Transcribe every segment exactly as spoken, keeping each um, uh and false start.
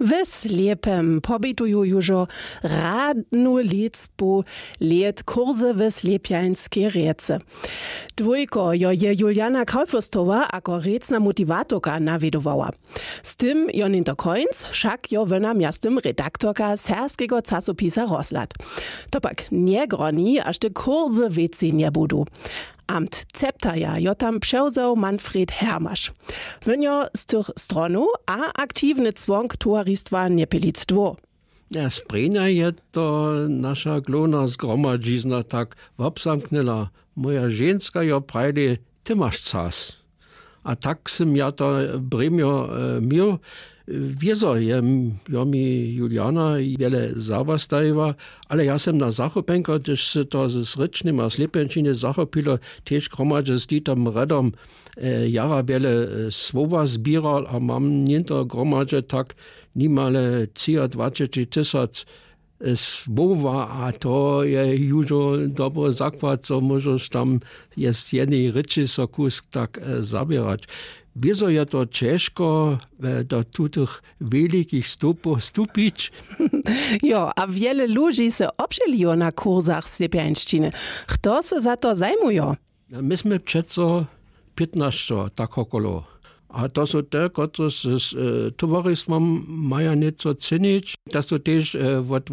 W Slěpem pobituju južo radnu lěcbu lět kursy w Slěpjańskej rěcy. Dwójko jo je Juliana Kaufürstowa ako rěcna motiwatorka nawědowała. Z tym jo něnto końc, wšak jo wona mjeztym redaktorka serbskeho časopisa Rozhlad. To pak njegroni, až te kursy wěcej njebudu. Amt zeptaja jo tam přewzał Manfred Hermaš. Wón jo z tych stronow a aktiwny cłonk towaristwa Njepilic dwór. Ja, sprěnja je to naša hlownja zgromadźizna tak wobzamknyła. Moja ženska jo prajdy: „Ty maš čas.“ A tak sym ja to brěmjo měł. Wězo je jo mi Juliana wjele zawostajiła, ale ja sym na zachopjenko, hdyž se to z rěčnyma slěpjenčiny zachopilo, tež hromadźe z Ditom Redom jara wjele słowa zběral a mam něnto hromadźe tak nimale třiadwaceći tysac słowa, a to je južo dobry zakład, zo móžeš tam z jednej rěči so kusk tak zaběrać. Wězo je to ćežko do tutych welikich stupow stupić. Jo, a wjele ludźi se wobšělijo na kursach slěpjańšćiny. Chto se za to zajmujo? My smy přeco pětnašćo tak wokolo. A to su te, kotrež z towaristwom maja něco činić, to su tež wot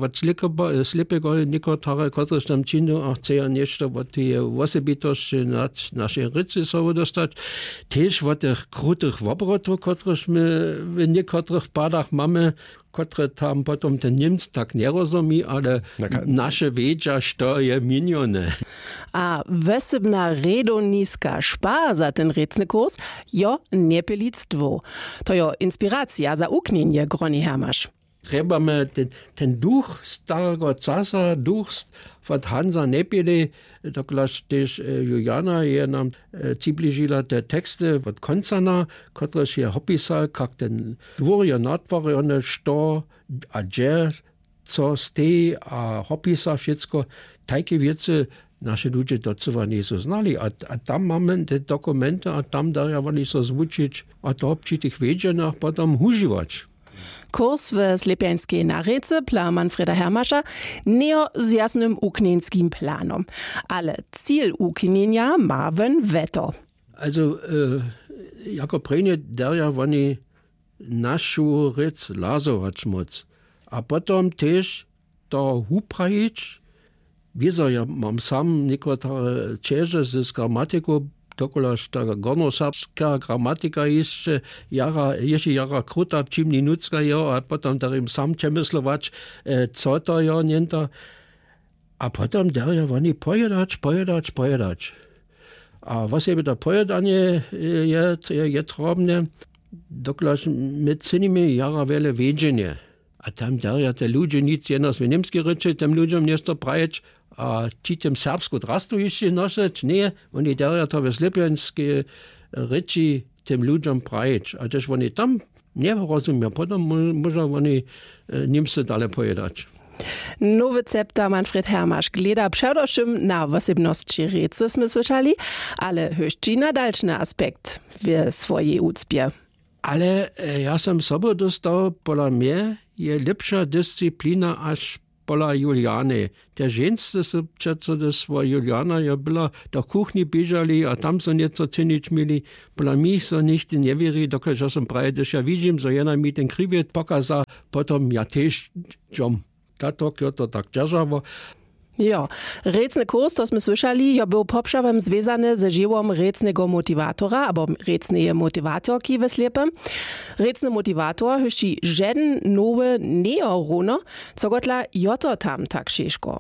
slěpeho někotre, kotrež tam činju a chceja něšto wot teje wosebitosće našej rěcy sobu dóstać. Tež wot tych krutych wobrotow, kotrež my w někotrych padach mamy, kotre tam potom ten Němc tak njerozomi, ale naše wědźa, što je měnjone. A wosebna rědowniska špa za ten rěcny kurs jo Njepilic dwór. To jo inspiracija za wuknjenje, groni Hermaš. Trjebamy ten duch starego časa, duch wot Hansa Njepili, dokelž tež Juliana je nam přibližila te teksty wot Koncana, kotrež je hopisał, kak ten dwór je natwarjony, što a hdźe, co steji, a hopisa wšitko. Tajke wěcy naše ludźe docyła njejsu znali, a tam mamy te dokumenty a tam darja woni so zwučić a to při tych wjedźenjach potom wužiwać. Kurs w slěpjańskej narěcy, plan Manfreda Hermaša, njejo z jasnym wuknjeńskim planom, ale cil wuknjenja ma wón wjeto. Also jako prěnje derja woni našu rěc lazować móc a potom tež to wuprajić. Wězo ja mam sam někotre ćeže z gramatiku, dokelž ta gornjoserbska gramatika hišće jara hišće jara kruta, přimni nutřka jeho a potom darjim sam přemyslować, co to jo něnto. A potom derja woni pojědać pojědać pojědać. A wosebje to pojědanje je trobne, dokelž my činimy jara wjele wjedźenje. A tam derja te ludźe nic jenož w němskej rěči tym ludźom něšto prajić, a ći tym serbsku drastu hišće nošeć njeje. Woni derja to w slěpjańskej rěči tym ludźom prajić a hdyž woni tam njerozumja, potom móža woni němsce dale pojědać. Nowy zepta Manfred Hermaš gleda předewšym na wosebnosći rěcy, smy słyšali, ale hdyž ći na dalšny aspekt w swojej wucpje. Ale ja sam sobu dóstał, pola mje je lěpša disciplina haž pola Juliany. Te ženske su přeco hdyž swoja Juliana jo, była do kuchni běžali a tam su něco činić měli. Pola mnich so nichtej njewěri, dokelž ja sam prajił, hdyž ja widźim zo jena mi ten kriwjet pokaza, potom ja tež dźom. Tatok jo to tak dźeržało. Jo, rěcny kurs, to smy słyšali, jo był popřawom zwězany ze žiwom rěcneho motiwatora abo rěcneje motiwatorki w slěpym. Rěcny motiwator hdyž ći žedn nowy njejo runo. Cokotla jo to tam tak šěžko?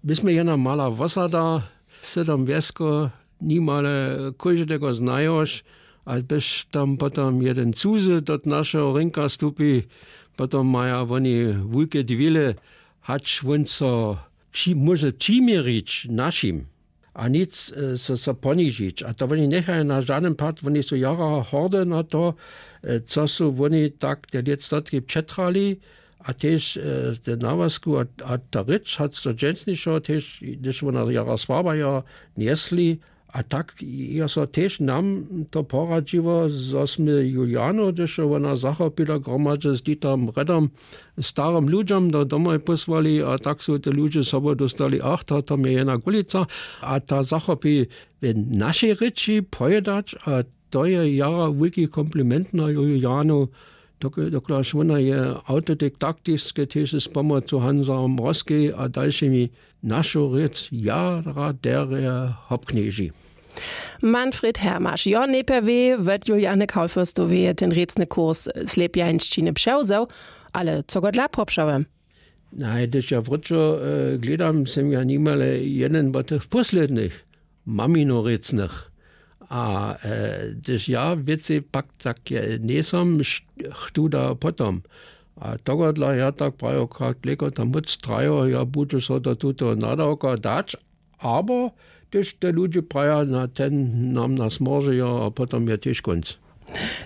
My smy jena mala wosada, sydom wjesko, nimale kóždego znajoš, a byš tam potom jedyn cuzy do našeho rynka stupi, potom maja woni wulke dwile, hač wón so móže přiměrić našim a nic so ponižić a to woni njechaja na žadyn pad. Woni su jara hordy na to, co su woni tak te lětstotki přetrali, a tež te nawazku a ta rěč hač to dźensnišo tež, hdyž wona jara słabajo njesli. A tak je so tež nam to poradźiło, zo smy julianu hdyž jo wona zachopila gromadźe z ditarom redom starym ludźom do domoj pósłali a tak su te ludźe sobu dóstali ach to to mje jena gulica. A ta zachopi w našej rěči powědać a to je jara wulki kompliment na julianu, dokelž wona je awtodidaktiske tež z pomocu hansa mrozkej a dalšimi našu rěc jara derje hopknježi. Manfred hermaš jo nejpjew wě wot juliane kaufürstoweje ten rěcny kurs slěpjańšćiny přewzeł, ale co go dla popřałe? Naj hdyž ja wróćo hledam sym ja nimale jeden wot tych póslednych maminorěcnych. A hdyž ja wěcej pak tak njejsom chtu da potom. A tohodla ja tak prajo kak lejko tam móc trajo ja budźu so do tutoho nadawka dać, abo hdyž te ludźe praja na ten nam nas morzejo a potom je tež kónc.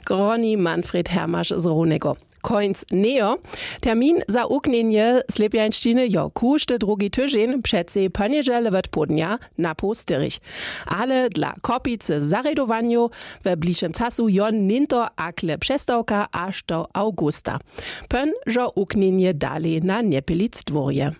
Groni manfred hermaš z rownjego. Kónc njejo. Termin za wuknjenje slěpjańšćiny jo kóždy drugi tyźeń přecej ponjedźele wot połdnja na poł styrich. Ale dla kopicy zarjedowanjow we bližšem casu jo něnto akle přestawka až do awgusta. Pón žo wuknjenje dali na njepilic dwórje.